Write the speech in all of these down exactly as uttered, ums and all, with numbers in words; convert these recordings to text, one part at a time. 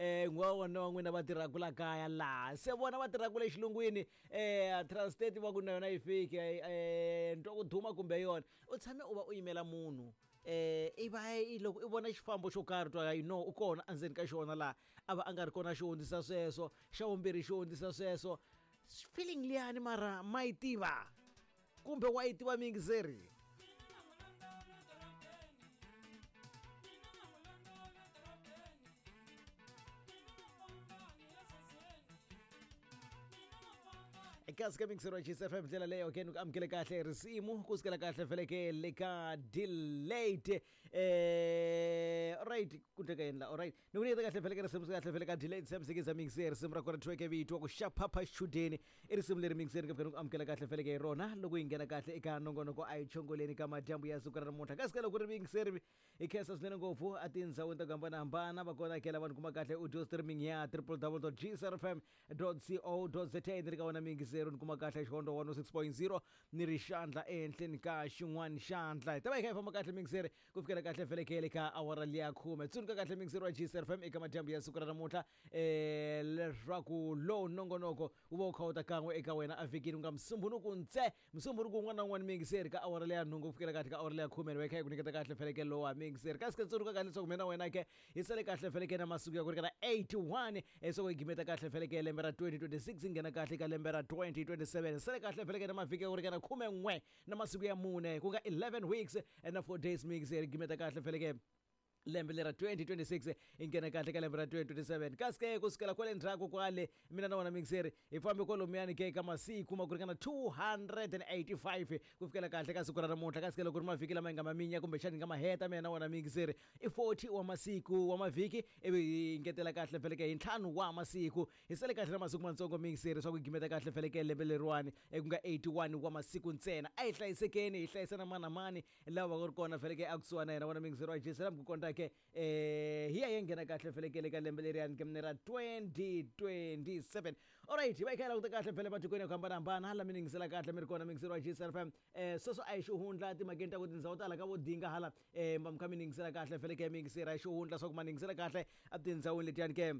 eh n'wa wona wa n'wina va tirhaka la kaya laha se vona va tirhaka le xilungwini eh Transstate va ku na yona yi fiki eh ntwa ku duma kumbe yona u tshame u va u yimela munhu eh i va i loko i vona xifambo xo karhi twa you know u kona endzeni ka xona laha a va a nga ri kona xi hundzisa sweswo xa vumbirhi xi hundzisa sweswo feeling liyani mara ma yi tiva kumbe wa yi tiva miyingiseri. Kasi ka mixero ya G S F M ndlela leyo ke ni ku amukele kahle risimu ku sukela kahle feleke le ka Delayed eh alright ku teka yini la alright ni ku nyiketa kahle feleke risimu kahle fele ka Delayed Sam Sikiza mixer risimu ra kona thweke vito ku xaphapha xichudeni i risimu leri mixer ka ku amukela kahle feleke hi rona loko yi nghena kahle eka nongonoko a yi chongoleni ka madyambu ya siku ra namuntlha kasi ka loko ri mixer hi khensa swinene ngopfu a tindhawini ta ku hambanahambana va kona kela vanhu kuma kahle audio streaming ya w w w dot g s r f m dot co dot za ni ri ka wona mixer ni kuma kahle Xihondzo one oh six point zero ni ri xandla ehenhleni ka xin'wana xandla hi ta va hi kha hi famba kahle mixer ku fikela kahle felekele ka awara liya khume. Tsundzuka kahle mixer wa G S R F M eka madyambu ya siku ra namuntlha um leswaku lowu nongonoko wu va wu kha wu ta kan'we eka wena a vhikini ku nga Musumbunuku ntse Musumbunuku wun'wana na wun'wana mixer ka awara leya nhungu ku fikela kahle ka awara leya khume ni va hi kha hi ku nyiketa kahle felekele lowa mixer. Kasi ke tsundzuka kahle leswaku mina na wena ke hi sale kahle feleke na masiku ya ku ringana eighty-one leswaku hi gimeta kahle feleke lembe ra twenty twenty-six hi nghena kahle ka lembe ra twenty twenty-seven. Sale kahle feleke na mavhiki ya ku ringana khume n'we na masiku ya mune ku nga eleven weeks na four days mixer gimeta kahle feleke lembe lera twenty twenty-six hi nghena kahle ka lembe ra twenty twenty-seven. Kasi ke ku sukela kwale ndzhaku kwale mina na wona mixer hi fambe kwalomuyani ke ka masiku ma ku ringana two hundred eighty-five ku fikela kahle ka siku ra namuntlha. Kasi ke loko ri mavhiki lama hi nga maminya kumbexani hi nga ma heta mina na wona mixer i forty wa masiku wa mavhiki ivi hi ngetela kahle feleke hi ntlhanu wa masiku hi sale kahle na masiku matsongo mixer swa ku gimeta kahle feleke lembe leriwani ku nga eighty-one wa masiku ntsena. A hi hlayisekeni hi hlayisa na mani na mani lava va ku ri kona feleke a kusuhana na yena vona mixer wa G S M ku konta ke eh hi ya yi nghena kahle felekele ka lembe leriyani ke ra twenty twenty-seven. Alright, hi va hi kha hi languta kahle phele matikweni ya ku hambanahambana hala mi ningisela kahle mi ri kona mixer wa G S R F M eh sweswo a hi xihundla timhakeni ta ku tindhawu tala ka vo dinga hala eh ma mi kha mi ningisela kahle feleke mixer a hi xihundla swa ku ma ningisela kahle a tindhawini letiyani ke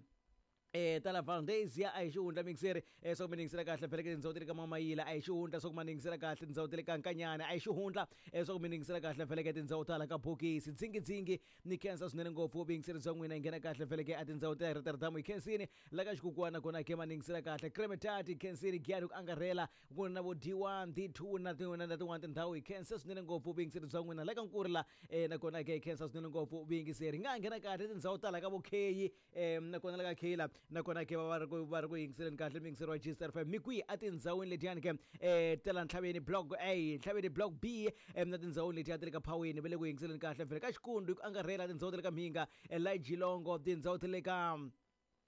eh tala Valdezia a hi xihundla mixer eh swa ku mi ningisela kahle phele ke tindhawu ta le ka Mamayila a hi xihundla swa ku ma ningisela kahle tindhawu ta le ka Nkanyana a hi xihundla eh swa ku mi ningisela kahle phele ke tindhawu tala ka Bokisi Dzingidzingi ni khensa swinene ngopfu vuyingiseri bya n'wina yi nghena kahle phele ke a tindhawu ta Rotterdam hi khensini la ka Xikukwana kona ke ma ningisela kahle Kremetati khensini Giyani ku angarhela ku na vo D one D two na tin'wana na tin'wana tindhawu hi khensa swinene ngopfu vuyingiseri bya n'wina la ka Nkurila eh nakona ke hi khensa swinene ngopfu vuyingiseri hi nga nghena kahle tindhawu tala ka vo Kheyi eh nakona la ka Kheyila nakona ke va va ri ku va ri ku yingiseleni kahle miyingiseri wa G S R F M mi kwihi a tindhawini letiyani ke eh ta la Ntlhaveni block A, Ntlhaveni block B eh, na tindhawini letiya ta le ka Phaweni va le ku yingiseleni kahle vhele ka Xikundu hi ku angarhela tindhawu ta le ka Mhinga eh, la Jilongo tindhawu ta le ka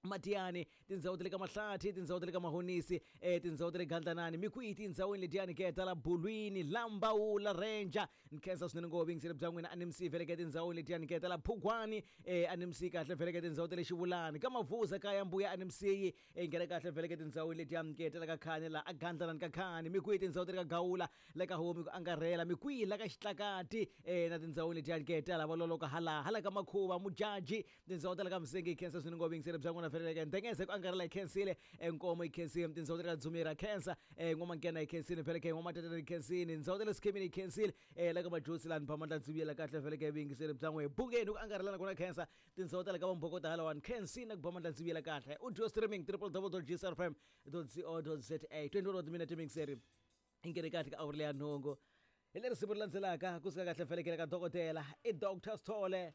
Matiyani tindhawu ta le ka Mahlathi tindhawu ta le ka Mahonisi eh tindhawu ta le Gandlanani mi kwihi tindhawini letiyani ke ta la Bulwini Lambawula Ranger ni khensa swinene ngopfu vuyingiseri bya n'wina a ni msi veleke tindhawini letiyani ke ta la Phugwani eh a ni msi kahle veleke tindhawu ta le Xivulani ka Mavuza kaya Mbuya a ni msiyi eh nghena kahle veleke tindhawini letiyani ke ta la ka Khani la a Gandlanani ka Khani mi kwihi tindhawu ta le ka Gawula la ka Homi ku angarhela mi kwihi la ka Xitlakati eh na tindhawini letiyani ke ta la Valoloka hala hala ka Makhuva Mujaji tindhawu ta le ka Msengi hi khensa swinene ngopfu vuyingiseri bya n'wina feleleke ndengeze ku angarhela hi khensile Nkomo hi khensile tindhawu ta le ka Dzumira khensa eh N'wamankena hi khensile feleke N'wamatetana hi khensile tindhawu ta le Sikhemini hi khensile eh la ka Majosi lani Phamandla Ndziviyela kahle feleke vuyingiseri bya n'we Bungeni ku angarhelana kona khensa tindhawu ta le ka Vambokota halawani khensini ku Bamandla Ndziviyela kahle audio streaming w w w dot g s r f m dot co dot za twenty-one minute mixer i nghene kahle ka awuri leya nhungu hi leri siku ri landzelaka kusuka kahle felekele ka dokodela i Doctor Sithole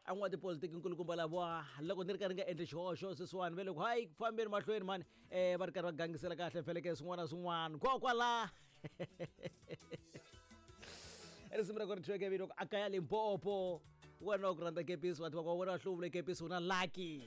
a n'wa tipolitiki nkulukumba lava loko ni ri karhi nga endli xihoxo sweswiwani ve loko hayi ku fambeni mahlweni mani um va ri karhi va gangisela kahle feleke swin'wana na swin'wana kokwala risimu ra ku ri thweke vito a kaya Limpopo wena wa ku rhandza kepisi va tiva ku wena wa hluvule kepisi u na lucky.